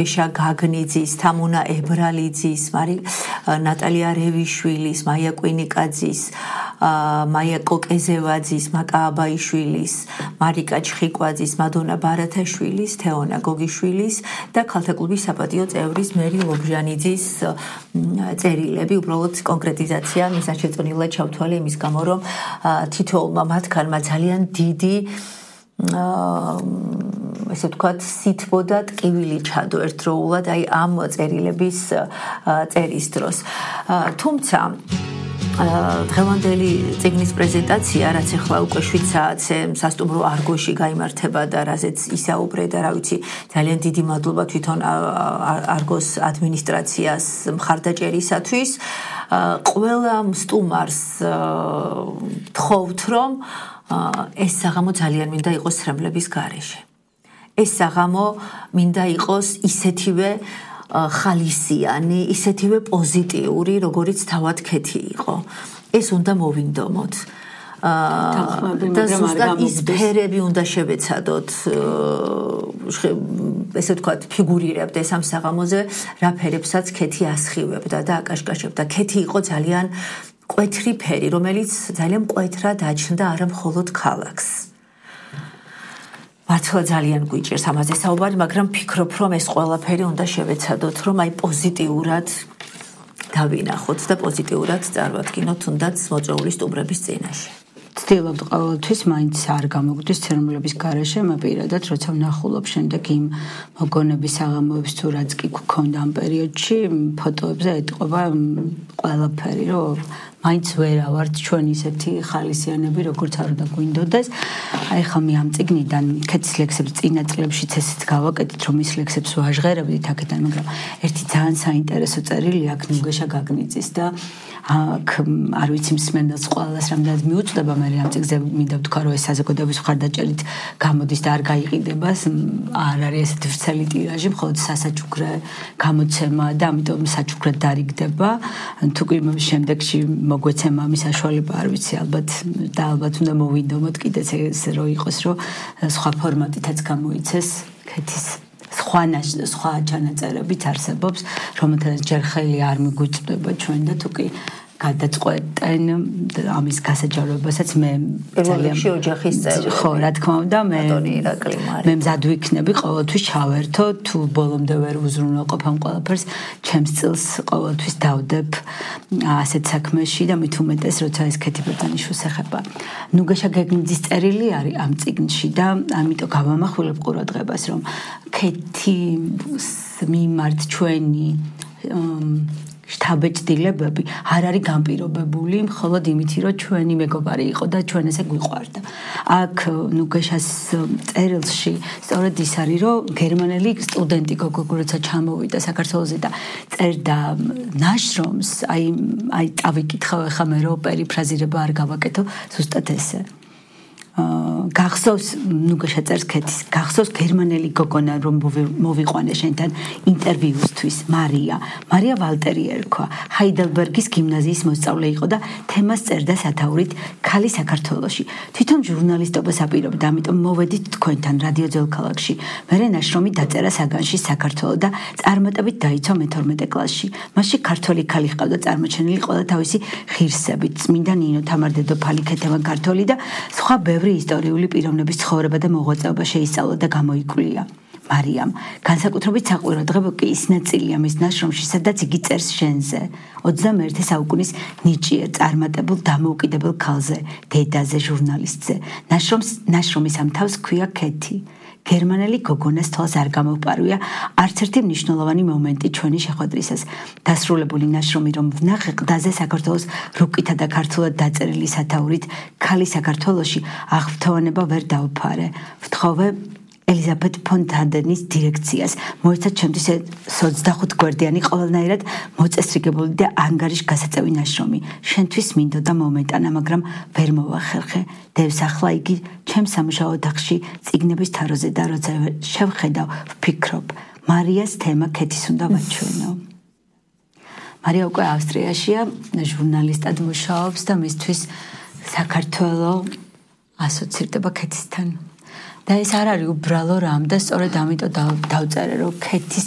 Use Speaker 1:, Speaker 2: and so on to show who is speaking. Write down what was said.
Speaker 1: გაგნიძის, თამუნა ებრალიძის, ნატალია რევიშვილის, მაია კვინიკაძის, მაია კოკეზევაძის, მაკა აბაიშვილის, მარიკა ჩხიკვაძის, მადონა ბარათაშვილის, თეონა გოგიშვილის და ქალთა კლუბის საპატიო წევრის მერი ლობჟანიძის წერილები, უბრალოდ კონკრეტიზაცია მისაჩეწონილად ჩავთვალე იმის გამო, რომ თითოეულმა მათგანმა ძალიან დიდი ესე ვთქვათ, სითბო და ტკივილი ჩადო ერთდროულად აი ამ წერილების წერის დროს. თუმცა დღევანდელი წიგნის პრეზენტაცია, რაც ახლა უკვე 7 საათზე სასტუმრო არგოში გაიმართება და რაზეც ისაუბრე და რა ვიცი, ძალიან დიდი მადლობა თვითონ არგოს ადმინისტრაციას მხარდაჭერისათვის. ყველა სტუმარს თხოვთ, რომ ეს საღამო ძალიან მინდა იყოს სრემლების გარეშე. ეს საღამო მინდა იყოს ისეთივე ხალისიანი, ისეთივე პოზიტიური, როგორც თავად ქეთი იყო. ეს უნდა მოვინდომოთ. და ზუსტად ის ფერები უნდა შევეცადოთ, ესე ვთქვათ, ფიგურირებდეს ამ საღამოზე, რა ფერებსაც ქეთი ასხივებდა და აკაშკაშებდა. ქეთი იყო ძალიან კვეთრი ფერი, რომელიც ძალიან მკვეთრად აჩნდა არა მხოლოდ ქალაქს. მართლა ძალიან გვიჭირს ამაზე საუბარი, მაგრამ ფიქრობ, რომ ეს ყველაფერი უნდა შევეცადოთ, რომ აი პოზიტიურად დავინახოთ და პოზიტიურად წარვადგინოთ თუნდაც მოწვეული სტუმრების წინაშე.
Speaker 2: ვცდილობთ ყოველთვის მაინც არ გამოგვდის ცერემონიების გარეშე, პირადად როცა ვნახულობ შემდეგ იმ მოგონების საღამოებს თუ რაც კი გქონდა ამ პერიოდში, ფოტოებზე ეტყობა ყველაფერი, რომ მაინც ვერ ავართ ჩვენ ისეთი ხალისიანები, როგორც არ უნდა გვინდოდეს. აი ხა მე ამ წიგნიდან ქეთის ლექსებს წინა წლებშიც ესეც გავაკეთეთ, რომ ის ლექსებს ვაჟღერებდით აქედან, მაგრამ ერთი ძალიან საინტერესო წერილი აქ ნუგეშა გაგნიძის და აქ არ ვიცი მსმენელს ყველას რამდენად მიუწვდება, მე ამ წიგნზე მინდა ვთქვა, რომ ეს საზოგადოების მხარდაჭერით გამოდის და არ გაიყიდება, არ არის ესეთი ვრცელი ტირაჟი, მხოლოდ სასაჩუქრე გამოცემა და ამიტომ საჩუქრად დარიგდება. თუ კი შემდეგში მოგვეცემა ამის საშუალება, არ ვიცი, ალბათ უნდა მოვინდომოთ კიდეც ეს რო იყოს, რომ სხვა ფორმატითაც გამოიცეს ქეთის სხვა ჩანაწერებიც არსებობს, რომელთაც ჯერ ხელი არ მიგვიწვდება ჩვენ და თუ კი გადაწყვეტენ ამის გასაჯაროებასაც მე
Speaker 1: ძალიან ოჯახის წევრი.
Speaker 2: ხო, რა თქმა უნდა, მე მზად ვიქნები ყოველთვის ჩავერთო, თუ ბოლომდე ვერ უზრუნველყოფ ამ ყველაფერს, ჩემს წილს ყოველთვის დავდებ ასეთ საქმეში და მით უმეტეს, როცა ეს ქეთი ბერძენიშვილს ეხება. ნუგეშა გაგნიძის წერილი არის ამ წიგნში და ამიტომ გავამახვილებ ყურადღებას, რომ ქეთის მიმართ ჩვენი შთაბეჭდილებები არ არის განპირობებული მხოლოდ იმით, რომ ჩვენი მეგობარი იყო და ჩვენ ესე გვიყვარდა. აქ ნუგეშას წერილში სწორედ ის არის, რომ გერმანელი სტუდენტი გოგო როცა ჩამოვიდა საქართველოზე და წერდა ნაშრომს, აი წავიკითხავ ახლა მე რომ პერიფრაზირება არ გავაკეთო, ზუსტად ესე. გახსოვს ნუგეშა წერს ქეთის, გახსოვს გერმანელი გოგონა რომ მოვიყვანე შენთან ინტერვიუსთვის, მარია ვალტერი ერქვა, ჰაიდელბერგის გიმნაზიის მოსწავლე იყო და თემას წერდა სათაურით ქალი საქართველოში. თვითონ ჟურნალისტობას აპირებდა, ამიტომ მოვედით თქვენთან რადიო ძველქალაქში. მერე ნაშრომი დაწერა საგანში საქართველო და წარმატებით დაიცვა მე-12 კლასში. მასში ქართველი ქალი ჰყავდა წარმოჩენილი ყველა თავისი ღირსებით, წმინდა ნინო თამარ-დედოფალი, ქეთევან ქართველი და სხვა ბევრი ისტორიული პიროვნების ცხოვრება და მოღვაწეობა შეისწავლა და გამოიკვლია. მარიამ, განსაკუთრებით საყურადღებო კი ის ნაწილია მის ნაშრომში, სადაც იგი წერს შენზე, 21 საუკუნის ნიჭიერ, წარმატებულ, დამოუკიდებელ ქალზე, დედაზე, ჟურნალისტზე. ნაშრომის ამ თავს ჰქვია ქეთი. გერმანელი გოგონას თვალს არ გამოვპარვია არც ერთი მნიშვნელოვანი მომენტი ჩვენი შეხვედრისას. დასრულებული ნაშრომი რომ ვნახე ყდაზე საქართველოს რუკითა და ქართულად დაწერილი სათაურით ქალი საქართველოში აღფრთოვანება ვერ დავფარე. ვთხოვე ელიზაბეთ ფონ თანდენის დირექციას მოეცათ ჩემთვის 25 გვერდიანი ყველანაირად მოწესრიგებული და ანგარიშ გასაწევი ნაშრომი. შენთვის მინდოდა მომენტანა, მაგრამ ვერ მოვახერხე. დევს ახლა იგი ჩემს სამუშაო ოთახში წიგნების თაროზე და როცა შევხედავ, ვფიქრობ, მარიას თემა ქეთის უნდა ვაჩვენო. მარია უკვე ავსტრიაშია, ჟურნალისტად მუშაობს და მისთვის საქართველო ასოცირდება ქეთისთან. და ეს არ არის უბრალო რამ და სწორედ ამიტომ დავწერე რომ ქეთის